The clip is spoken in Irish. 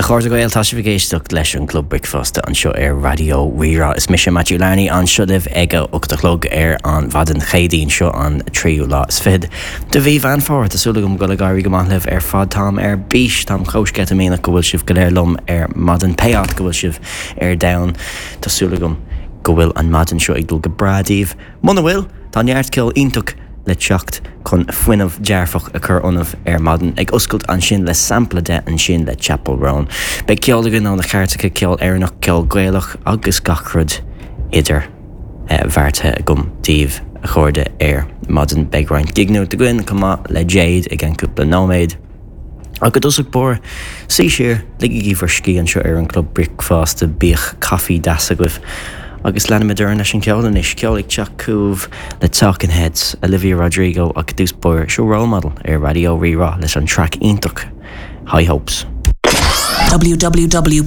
A chairde Gael, tá sibh ag éisteacht leis an gClub Bricfeasta anseo ar Raidió Rí-Rá. Is mise Matthew Larney anseo libh ag a 8 a chlog ar an mhaidin Chéadaoin seo an tríú lá is fichead de mhí Mheán Fómhair. Tá súil agam go bhfuil ag éirí go maith libh ar fad. Táim ar bís, táim chomh sceitimíneach go bhfuil sibh go léir liom ar maidin, pé áit go bhfuil sibh ar domhan. Tá súil agam go bhfuil an maidin seo ag dul go breá daoibh. Muna bhfuil, tá neart ceol iontach le teacht chun fuinneamh dearfach a chur ionaibh ar maidin. Ag oscailt ansin le sampla de ansin le Chappell Roan. Beidh ceol againn ó na cairteacha, ceol Éireannach, ceol Gaelach agus gach rud idir bheartaithe agam daoibh a chairde ar maidin. Beidh roinnt gig-nuacht againn chomh maith le Jade i gceann cúpla nóiméad. Ach i dtosach báire, suí siar, ligigí bhur scíth anseo ar an gClub Bricfeasta, bíodh caife deas agaibh agus leanfaimid orainn leis an cheol anois. Ceol ag teacht chugaibh le Talking Heads, Olivia Rodrigo ach i dtús báire, seo Role Model ar Raidió Rí-Rá leis an traic iontach High Hopes. www.rrr.ie.